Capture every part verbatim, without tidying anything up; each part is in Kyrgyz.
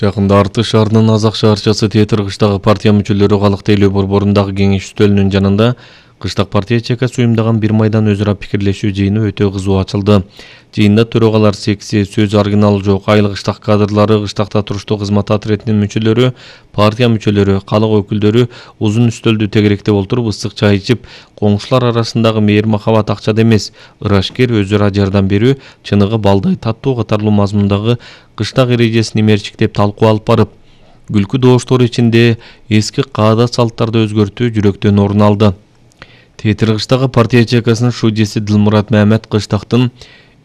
Жакында Арты шаарынын Азак шаарчасы Тетир кыштагы партия мүчөлөрү калык тейлөө борборундагы кеңеш үстөлүнүн жанында кыштак партия ЧК уюмдаган бир майдан өз ара пикирлешүү жыйыны өтө кызуу ачылды. Жыйында төрагалар секси, сөз аргинал жок, айыл кыштак кадрлары, кыштакта туруштуу кызмат отрядынын мүчөлөрү, партия мүчөлөрү, калык өкүлдөрү узун үстөлдү тегеректеп отуруп ысык чай ичип, коңшулар арасындагы мээр махабат акчада эмес, ырашкер өз ара жардам берүү, чыныгы балдай таттуу катарлуу мазмундагы кыштак эрежесин имерчиктеп талкуу алып барып, күлкү добуштор ичинде эски каадат салттарды өзгөртүү жүрөктөн орун алды. Тетир кыштагы партия ЧКсынын шудеси Дилмурат Мамед кыштактын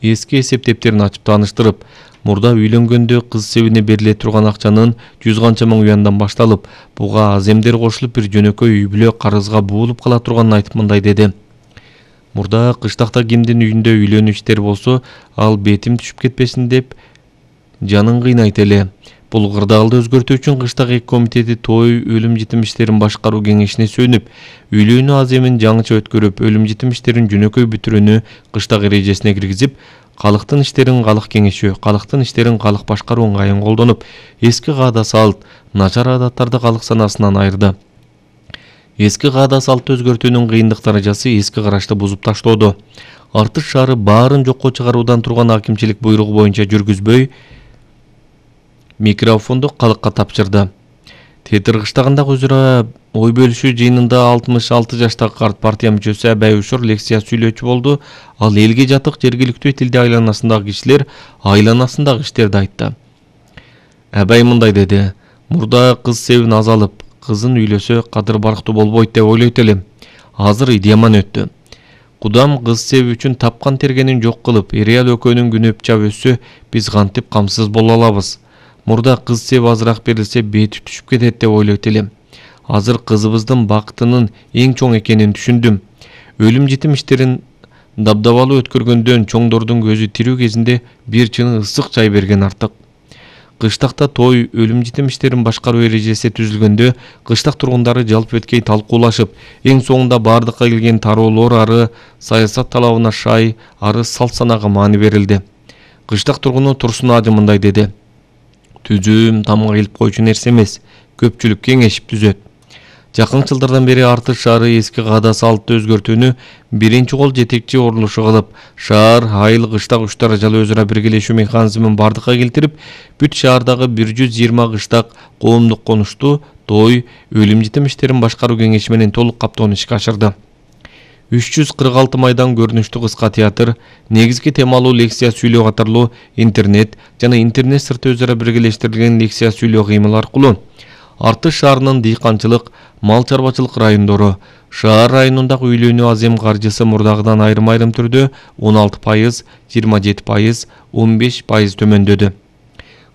эски эсеп дептерин ачып тааныштырып, мурда үйлөнгөндө кыз себине бериле турган акчанын жүз канча миң уяндан башталып, буга аз эмдер кошулуп бир жөнөкөй үй бүлө карызга буулуп кала турганын айтып мындай деди. Мурда кыштакта кимдин үйүндө үйлөнүү иштери болсо, ал бетим түшүп кетпесин деп жанын кыйнайт эле. Бул кырдаалды өзгөртүү үчүн кыштак эки комитети той, өлүм житим иштерин башкаруу кеңешине сөнүп, үйлөнүү аземин жаңыча өткөрүп, өлүм житим иштерин жөнөкөй бүтүрүүнү кыштак эрежесине киргизип, калыктын иштерин калык кеңеши, калыктын иштерин калык башкаруу ыңгайын колдонуп, эски каада салт, начар адаттарды калык санасынан айырды. Эски каада салтты өзгөртүүнүн кыйындык даражасы эски карашты бузуп таштоодо. Арты шаары баарын жокко чыгаруудан турган акимчилик буйругу боюнча жүргүзбөй, микрофонду калыкка тапшырды. Тетир кыштагындагы өз ара ой бөлүшүү жыйынында алтымыш алты жаштагы карт партия мүчөсү Абай Ушур лекция сүйлөөчү болду. Ал элге жатык жергиликтүү тилде айланасындагы кишилер айланасындагы иштерди айтты. Абай мындай деди: "Мурда кыз себин азалып, кызын үйлөсө кадыр барктуу болбойт деп ойлойт элем. Азыр идеяман өттү. Кудам кыз себи үчүн тапкан тергенин жок кылып, эр-аял экөөнүн күнү чап өссө, биз кантип камсыз боло алабыз? Мурда кыз себи азыраак берилсе бети түшүп кетет деп ойлойт элем. Азыр кызыбыздын бактынын эң чоң экенин түшүндүм. Өлүм житим иштерин дабдабалуу өткөргөндөн чоңдордун көзү тирүү кезинде бир чыны ысык чай берген артык. Кыштакта той, өлүм житим иштерин башкаруу эрежеси түзүлгөндө кыштак тургундары жалп эткей талкуулашып, эң соңунда бардыкка келген тароолор ары саясат талабына шай, ары салт санага маани берилди. Кыштак тургуну Турсун Ажы мындай деди: "Түзүм тамга келип койчу нерсе эмес, көпчүлүк кеңешип түзөт." Жакын жылдардан бери Арты шаары эски каада салтты өзгөртүүнү биринчи кол жетекчи урулушу кылып, шаар айыл кыштак үч даражалуу өз ара биргелешүү механизмин бардыкка келтирип, бүт шаардагы бир жүз жыйырма кыштак коомдук конушту, той, өлүм житим иштерин башкаруу кеңеши менен толук каптоону ишке ашырды. үч жүз кырк алты майдан көрүнүштүү кыска театр, негизги темалуу лекция сүйлөө катарлуу интернет жана интернет сырты өз ара биргелештирилген лекция сүйлөө кыймыл аркылуу Арты шаарынын дыйканчылык, мал чарбачылык райондору, шаар районундагы үйлөнүү азем каржысы мурдагыдан айрым-айрым түрдө он алты пайыз, жыйырма жети пайыз, он беш пайыз төмөндөдү.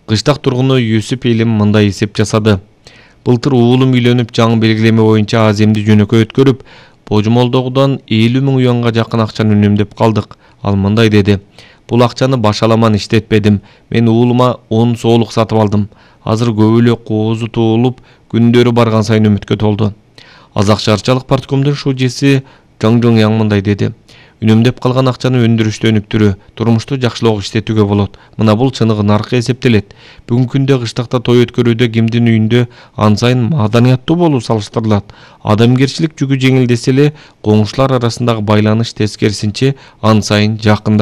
Кыштак тургуну Юсуп Элим мындай эсеп жасады: "Былтыр уулум үйлөнүп, жаңы белгилеме боюнча аземди жөнөкөй өткөрүп, божмолдогудан элүү миң уянга жакын акчаны үнөмдөп калдык." Ал мындай деди: "Бул акчаны башаламан иштетпедим. Мен уулума он соолук сатып алдым. Азыр көп эле коозу туулуп, күндөрү барган сайын үмүткө толду." Азак шаарчалык парткомдун шудеси Жаңжоң Яң мындай деди: "Үнөмдөп калган акчаны өндүрүштө өнүктүрүү, турмушту жакшылоого иштетүүгө болот. Мына бул чыныгы наркы эсептелет. Бүгүнкү күндө кыштакта той өткөрүүдө кимдин үйүндө ан сайын маданияттуу болуу салыштырылат. Адамгерчилик жүгү жеңилдесе эле, коңшулар арасындагы байланыш тескерисинче ан сайын жакында